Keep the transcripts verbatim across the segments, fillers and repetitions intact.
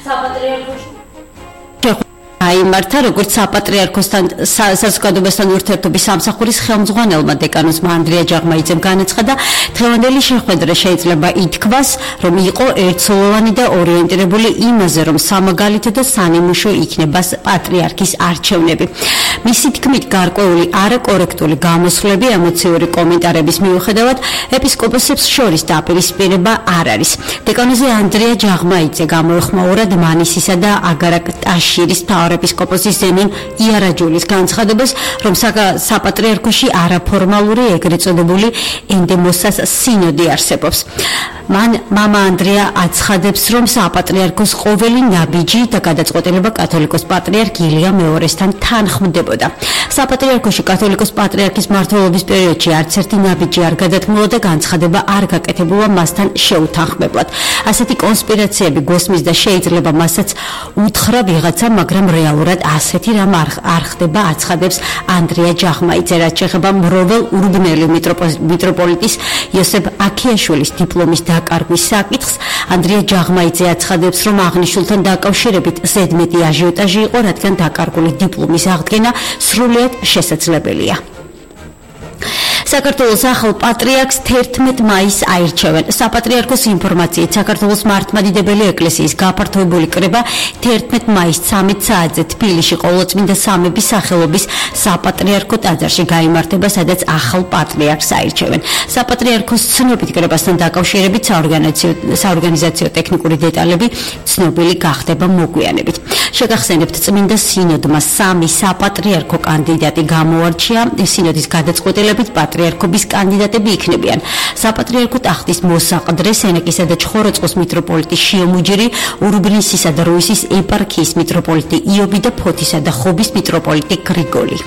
საპატრიარქოში აიმართა როგორც საპატრიარქოსთან საზოგადოებასთან ურთიერთობის სამსახურის ხელმძღვანელმა დეკანოზმა ანდრია ჯაღმაიძემ განაცხადა, დღევანდელი შეხვედრა შეიძლება ითქვას, რომ იყო ერთსოლოვანი და ორიენტირებული იმაზე, რომ სამაგალითო და სანიმუშო იქნება პატრიარქის არჩევნები. მისი თქმით, გარკვეული არაკორექტული გამოსვლები, ემოციური კომენტარების მიუხედავად, ეპისკოპოსებს შორის დაპირისპირება არ არის. დეკანოზე ანდრია ჯაღმაიძე გამოეხმაურა დმანისისა და აგარაკ ტაშირის ეპისკოპოსის ზენონ იარაჯულის განცხადებას, რომ საპატრიარქოში არაფორმალური ეგრეთ წოდებული ენდემოსას სინოდი არსებობს. მან მამა ანდრია აცხადებს, რომ საპატრიარქოს ყოველი ნაბიჯი და გადაწყვეტილება კათოლიკოს პატრიარქ ილია მეორესთან თანხმდებოდა. საპატრიარქოში კათოლიკოს პატრიარქის მმართველობის პერიოდში არც ერთი ნაბიჯი არ გადათმოლა და განცხადება არ გაკეთებულა მასთან შეუთანხმებლად. ასეთი კონსპირაციები გოსმის და შეიძლება მასაც უთხრა ვიღაცა, მაგრამ რეალურად ასეთი რამ არ ხდება, აცხადებს ანდრია ჯაღმაიძე, რაც შეეხება მროվել ურბნელი მიტროპოლიტის იოსებ აქიაშვილის დიპლომის დაკარგვის საკითხს. ანდრია ჯაღმაიძე აცხადებს, რომ აღნიშნულთან დაკავშირებით ზედმეტი აჟიოტაჟი იყო, რადგან დაკარგული დიპლომის აღდგენა სრულიად შესაძლებელია. საქართველოს ახალ პატრიარქს თერთმეტ მაისს აირჩევენ. საპატრიარქოს ინფორმაციით, საქართველოს მართლმადიდებელი ეკლესიის გაფართოებული კრება თერთმეტ მაისს ცამეტ საათზე თბილისში ყოვლადწმინდა სამების სახელობის საპატრიარქო ტაძარში გაიმართება, სადაც ახალ პატრიარქს აირჩევენ. საპატრიარქოს ცნობით კრებასთან დაკავშირებით საორგანიზაციო ტექნიკური დეტალები ცნობილი გახდება მოგვიანებით. შეგახსენებთ, წმინდა სინოდმა სამი საპატრიარქო კანდიდატი გამოარჩია. სინოდის გადაწყვეტილებით პატრიარქობის კანდიდატები იქნებიან: საპატრიარქო ტახტის მოსაყდრე, სენეკისა და ჩხოროწყოს მიტროპოლიტი შიომუჯირი, ურბნისისა და რუისის ეპარქიის მიტროპოლიტი იობი და ფოთისა და ხობის მიტროპოლიტი გრიგოლი.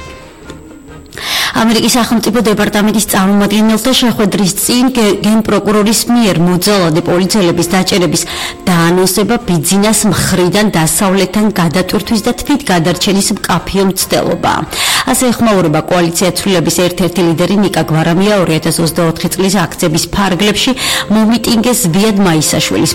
ამერიკის სახელმწიფო დეპარტამენტის წარმომადგენელთა შეხვედრის წინ გენპროკურორის მიერ მოძალადე პოლიციელების დაჭერების დაანონსება ბიძინას მხრიდან დასავლეთთან გადატვირთვის და თვით გადარჩენის მკაფიო მცდელობაა. ასე ეხმაურება კოალიცია ცვლილების ერთ-ერთი ლიდერი ნიკა გვარამია ორი ათას ოცდაოთხი წლის აქციების ფარგლებში მომიტინგეს ზვიად მაისაშვილის,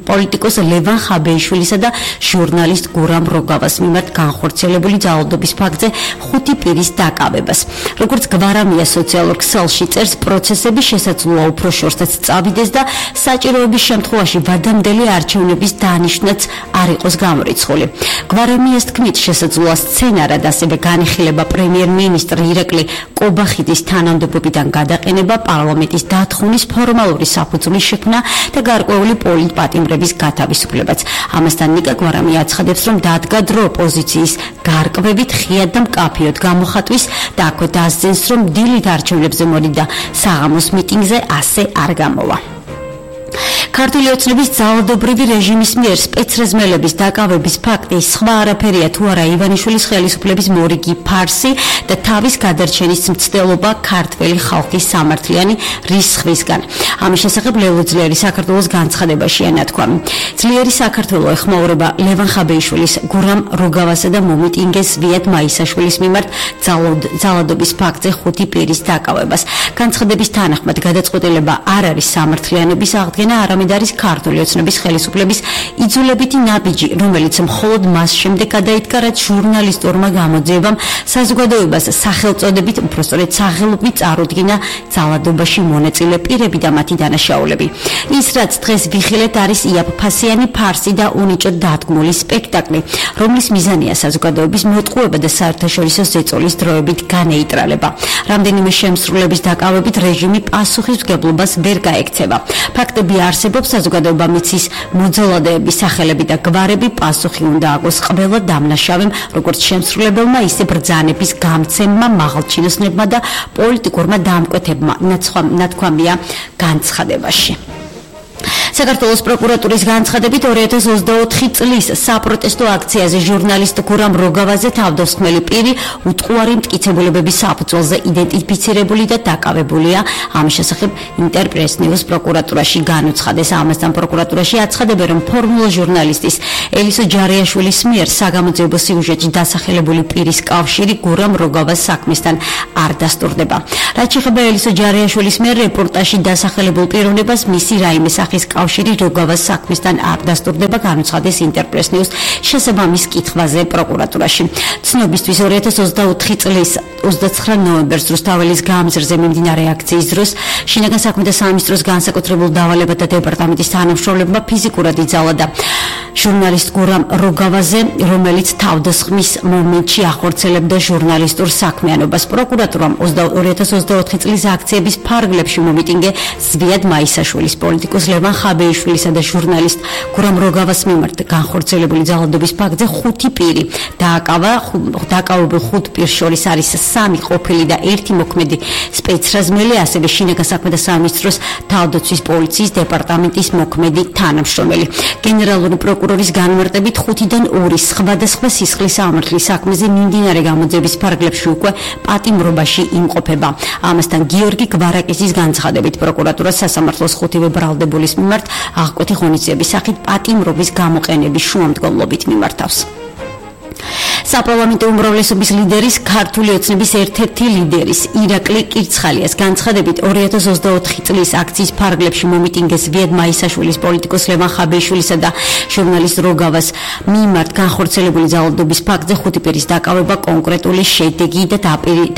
პოლიტიკოს ლევან ხაბეიშვილისა და ჟურნალისტ გურამ როგავას მიმართ განხორციელებული ძალადობის ფაქტზე ხუთი პირის დაკავებას. როგორც გვარამია სოციალურ ქსელში წერს, პროცესები შესაძლოა უფრო შორსაც წავიდეს და საჭიროების შემთხვევაში ვადამდელი არჩევნების დანიშვნაც არ იყოს გამორიცხული. გვარამიას თქმით, შესაძლოა სცენარად ასევე განიხილება პრემიერ-მინისტრ ირაკლი კობახიძის თანამდებობიდან გადაყენება, პარლამენტის დათხოვნის ფორმალური საფუძვლის შექმნა და გარკვეული პოლიტპატიმრების გათავისუფლებაც. ამასთან ნიკა გვარამია აცხადებს, რომ დადგა დრო ოპოზიციის გარკვევით ხიად და მკაფიოდ გამოხატვის და აქვე დასძენს, რომ დილით არჩევნებზე მოდიდა საღამოს მიტინგზე ასე არ გამოვა. ქართული ოცნების ძალადობრივი რეჟიმის მიერ სპეცრეზმელების დაკავების ფაქტი სხვა არაფერია თუ არა ივანიშვილის ხელისუფლების მორიგი ფარსი და თავის გადარჩენის მცდელობა ქართველი ხალხის სამართლიანი რისხვისგან. ამის შესახებ ლელო ძლიერი საქართველოს განცხადებაშია ნათქვამი. ძლიერი საქართველო ეხმაურება ლევან ხაბეიშვილის, გურამ როგავასა და მომიტინგეს ზვიად მაისაშვილის მიმართ ძალადობის ფაქტზე ხუთი პირის დაკავებას. განცხადების თანახმად გადაწყვეტილება არ არის სამართლიანობის აღდგენა, არამედ არის ქართული ოცნების ხელისუფლების იძულებითი ნაბიჯი, რომელიც მხოლოდ მას შემდეგ გადაიდგა, რაც ჟურნალისტურმა გამოძიებამ საზოგადოებას სახელწოდებით, უпростоრედ სახელობით წარუდგინა ძალადობაში მონაწილე პირები და მათი დანაშაულები. ის, რაც დღეს ვიხილეთ, არის იაფფასიანი ფარსი და უნიჭოდ დადგმული სპექტაკლი, რომლის მიზანია საზოგადოების მოტყუება და საერთაშორისო ზეწოლის დროებით განეიტრალება. რამდენიმე შემსრულების დაკავებით რეჟიმი პასუხისმგებლობას ვერ გაექცევა. ფაქტები არსებობს, საზოგადოება მიცის მოძალადეების სახელები და გვარები პასუხი უნდა აგოს ყველა დამნაშავემ, როგორც შემსრულებელმა, ისე ბრძანების გამცემმა, მაღალჩინოსნებმა და პოლიტიკურმა დამკვეთებმა, ნათქვამია განცხადებაში. საქართველოს პროკურატურის განცხადებით ორი ათას ოცდაოთხი წლის საპროტესტო აქციაზე ჟურნალისტ გურამ როგავაზე თავდამსხმელი პირი უტყუარი მტკიცებულებების საფუძველზე იდენტიფიცირებული და დაკავებულია. ამის შესახებ ინტერპრეს ნიუს პროკურატურაში განუცხადეს. ამასთან პროკურატურაში აცხადებენ, რომ ფორმულა ჟურნალისტის ელისო ჯარიაშვილის მიერ საგამოძიებო სიუჟეტში დასახელებული პირის კავშირი გურამ როგავას საქმესთან არ დასტურდება. რაც შეეხება ელისო ჯარიაშვილის მიერ რეპორტაჟში დასახელებულ პიროვნებას, მისი რაიმე სახის კავშირი კავშირი როგავას საქმესთან არ დასტურდება, განუცხადეს ინტერპრეს ნიუს შესაბამის კითხვაზე პროკურატურაში. ცნობისთვის ორი ათას ოცდაოთხი წლის ოცდაცხრა ნოემბერს რუსთაველის გამზრზე მიმდინარე აქციის დროს შინაგან საქმეთა სამინისტროს განსაკუთრებულ დავალებათა დეპარტამენტის თანამშრომლებმა ფიზიკურად იძალა ჟურნალისტ გურამ როგავაზე, რომელიც თავდასხმის მომენტში ახორციელებდა ჟურნალისტურ საქმიანობას. პროკურატურამ ორი ათას ოცდაოთხი წლის აქციების ფარგლებში მომიტინგე ზვიად მაისაშვილის, პოლიტიკოს ლევან ხაბეიშვილისა და ჟურნალისტ გურამ როგავას მიმართ განხორციელებული ძალადობის ფაქტზე ხუთი პირი დააკავა. დააკავებულ ხუთ პირს შორის არის სამი ყოფილი და ერთი მოქმედი სპეცრაზმელი, ასევე შინაგან საქმეთა სამინისტროს თავდაცვის პოლიციის დეპარტამენტის მოქმედი თანამშრომელი. გენერალური პროკურორის განმარტებით ხუთიდან ორი სხვადასხვა სისხლის სამართლის საქმეზე მიმდინარე გამოძიების ფარგლებში უკვე პატიმრობაში იმყოფება. ამასთან გიორგი გვარაკისის განცხადებით პროკურატურა სასამართლოს ხუთივე ბრალდებულის მიმართ აღკვეთი ღონისძიების სახით პატიმრობის გამოყენების შუამდგომლობით მიმართავს. საპარლამენტო უმრავლესობის ლიდერის, ქართული ოცნების ერთ-ერთი ლიდერის ირაკლი კირცხალიას განცხადებით ორი ათას ოცდაოთხი წლის აქციის ფარგლებში მომიტინგეს ზვიად მაისაშვილის, პოლიტიკოს ლევან ხაბეიშვილისა და ჟურნალისტ როგავას მიმართ განხორციელებული ძალადობის ფაქტზე ხუთი პირის დაკავება კონკრეტული შედეგი და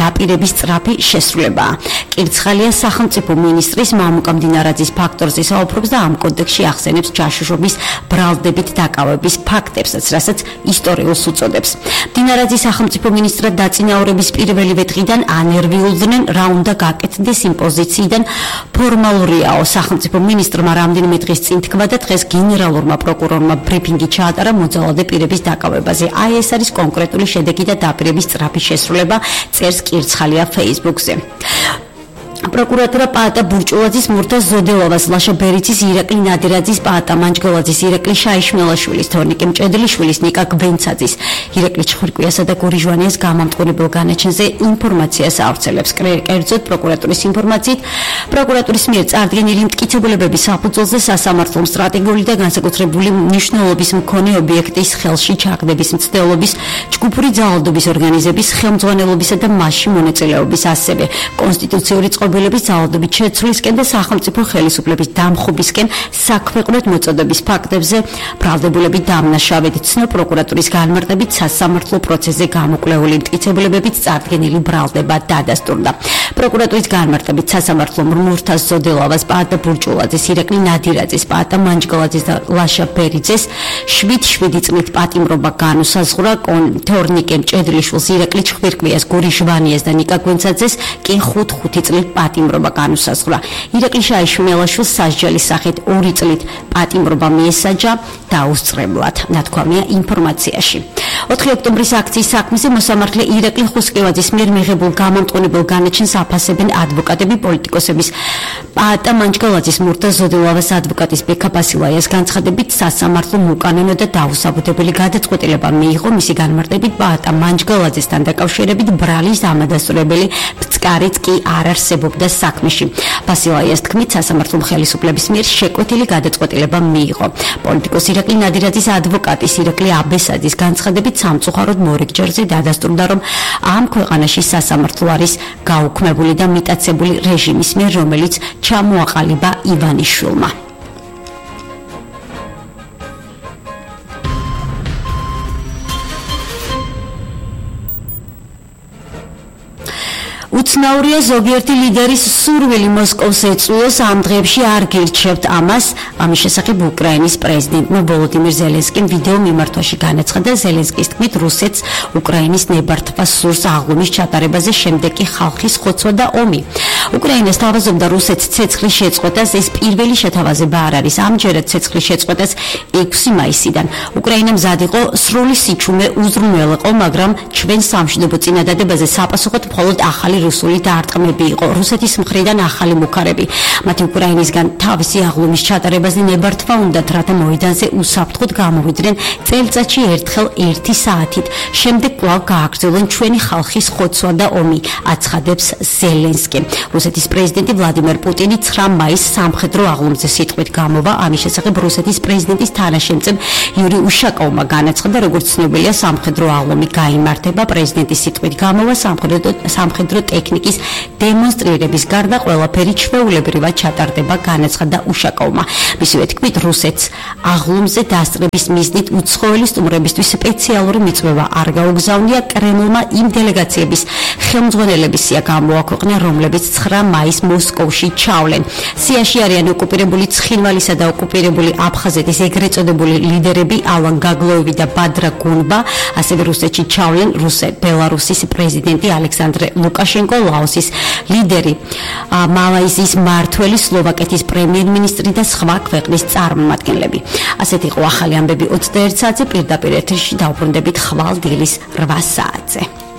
დაპირების სწრაფი შესრულებაა. კირცხალია სახელმწიფო მინისტრის მამუკა მდინარაძის ფაქტორზე საუბრობს და ამ კონტექსტში ახსენებს ჯაშუშობის ბრალდებით დაკავების ფაქტებსაც, რასაც ისტორიულს უწოდებს. მდინარაძის სახელმწიფო მინისტრად დაწინაურების პირველივე დღიდან ანერვიულდნენ, რა უნდა გაკეთდეს იმ პოზიციიდან. ფორმალურიაო, სახელმწიფო მინისტრმა რამდენიმე დღის წინ თქვა და დღეს გენერალურმა პროკურორმა ბრიფინგი ჩაატარა მოძალადე პირების დაკავებაზე. აი ეს არის კონკრეტული შედეგი და დაპირების სწრაფი შესრულება, წერს კირცხალია Facebook-ზე. პროკურატურა პაატა ბურჭულაძის, მურთა ზოდელოვას, ლაშა ბერიცის, ირაკლი ნადირაძის, პაატა მანჯგოლაძის, ირაკლი შაიშმელაშვილის, თორნიკე მჭედლიშვილის, ნიკა გვენცაძის, ირაკლი ჩხირკვიასა და გური ჟვანიას გამამტყუნებელ განაჩენზე ინფორმაციას ავრცელებს. კერძოდ პროკურატურის ინფორმაციით, პროკურატურის მიერ წარდგენილი მტკიცებულებების საფუძველზე სასამართლომ სტრატეგიული და განსაკუთრებული მნიშვნელობის მქონე ობიექტის ხელში ჩაგდების მცდელობის, ჯგუფური ძალადობის ორგანიზების ხელმძღვანელობისა და მასში მონაწილეობის, ასევე კონსტიტუციური წყობილების ძალადობით შეცვლისკენ და სახელმწიფო ხელისუფლების დამხობისკენ საქვეყნოდ მოწოდების ფაქტებზე ბრალდებულები დამნაშავედ ცნო პროკურატურის განმარტებით სასამართლო პროცესზე გამოკვლეული მტკიცებულებებით წარდგენილი ბრალდება დადასტურდა. პროკურატურის განმარტებით სასამართლომ მურთა ზოდელოვას, პაატა ბურჭულაძის, ირაკლი ნადირაძის, პაატა მანჯგოლაძის და ლაშა ბერიძეს შვიდ შვიდი წლით პატიმრობა განუსაზღვრა. თორნიკე მჭედლიშვილს, ირაკლი ჩხირკვიას, გური ჟვანიას და ნიკა გვენცაძეს კი ხუთ ხუთი წლით პატიმრობა განუსაზღვრა. ირაკლი შაიშმელაშვილს სასჯელის სახით ორი წლით პატიმრობა მიესაჯა დაუსწრებლად, ნათქვამია ინფორმაციაში. ოთხი ოქტომბრის აქციის საქმეზე მოსამართლე ირაკლი ხუსკევაძის მიერ მიღებულ გამამტყუნებელ განაჩენს აფასებენ ადვოკატები, პოლიტიკოსების. პაატა მანჯგოლაძის, მურთა ზოდელოვას ადვოკატის ბექა ბასილაიას განცხადებით სასამართლომ უკანონო და დაუსაბუთებელი გადაწყვეტილება მიიღო. მისი განმარტებით პაატა მანჯგოლაძესთან დაკავშირებით ბრალის ამადასტურებელი ფსკარიც კი არ არსებობდა საქმეში. ბასილაიას თქმით, სასამართლომ ხელისუფლების მიერ შეკვეთილი გადაწყვეტილება მიიღო. პოლიტიკოს ირაკლი ნადირაძის ადვოკატის ირაკლი აბესაძის განცხადებით სამწუხაროდ მორიგჯერზე დადასტურდა, რომ ამ ქვეყანაში სასამართლო არის გაუქმებული და მიტაცებული რეჟიმის მიერ, რომელიც ჩამოაყალიბა ივანიშვილმა. უცნაურია ზოგიერთი ლიდერის სურვილი მოსკოვს ეწვიოს, ამ დღეებში არ გირჩევთ ამას. ამის შესახებ უკრაინის პრეზიდენტმა ვოლოდიმირ ზელენსკიმ ვიდეო მიმართვაში განაცხადა. ზელენსკის თქმით, რუსეთს უკრაინის ნებართვა სურს აღლუმის ჩატარებაზე, შემდეგ კი ხალხის ხოცვა და ომი. უკრაინას თავაზობდა რუსეთს ცეცხლის შეწყვეტას, ეს პირველი შეთავაზება არ არის. ამჯერად ცეცხლის შეწყვეტას ექვსი მაისიდან. უკრაინა მზად იყო სრული სიჩუმე უზრუნველყო, მაგრამ ჩვენ სამშვიდობო წინადადებაზე საპასუხოდ მხოლოდ ახალი რუსული დაარტყმები იყო. რუსეთის მხრიდან ახალი მუქარები. მათი უკრაინისგან თავისი აღლუმის ჩატარებაზე ნებართვა უნდათ, რათა მოედანზე უსაფრთხოდ გამოვიდნენ წელიწადში ერთხელ ერთი საათით. შემდეგ კვლავ გააგრძელონ ჩვენი ხალხის ხოცვა და ომი, აცხადებს ზელენსკი. რუსეთის პრეზიდენტი ვლადიმერ პუტინი ცხრა მაისს სამხედრო აღლუმზე სიტყვით გამოვა. ამის შესახებ რუსეთის პრეზიდენტის თანაშემწებ იური უშაკოვმა განაცხადა, როგორც ცნობილია, სამხედრო აღლუმი გაიმართება. პრეზიდენტის სიტყვით გამოვა სამხედრო სამხედრო ტექნიკა ტექნიკის დემონსტრირების გარდა ყველაფერი ჩვეულებრივად ჩატარდება, განაცხადა უშაკოვმა. მისივე თქმით, რუსეთს აღლუმზე დასწრების მიზნით უცხოელი სტუმრებისთვის სპეციალური მიწვევა არ გაუგზავნია. კრემლმა იმ დელეგაციების ხელმძღვანელების სია გამოაქვეყნა, რომლებიც ცხრა მაისს მოსკოვში ჩავლენ. სიაში არიან ოკუპირებული ცხინვალისა და ოკუპირებული აფხაზეთის ეგრეთ წოდებული ლიდერები ალან გაგლოევი და ბადრა გუნბა, ასევე რუსეთში ჩავლენ ბელარუსის პრეზიდენტი ალექსანდრე ლუკაშენკო, ლაოსის ლიდერი, მალაიზიის მმართველი, სლოვაკეთის პრემიერ-მინისტრი და სხვა ქვეყნის წარმომადგენლები. ასეთი იყო ახალი ამბები ოცდაერთ საათზე, პირდაპირ ეთერში დავბრუნდებით ხვალ დილის რვა საათზე.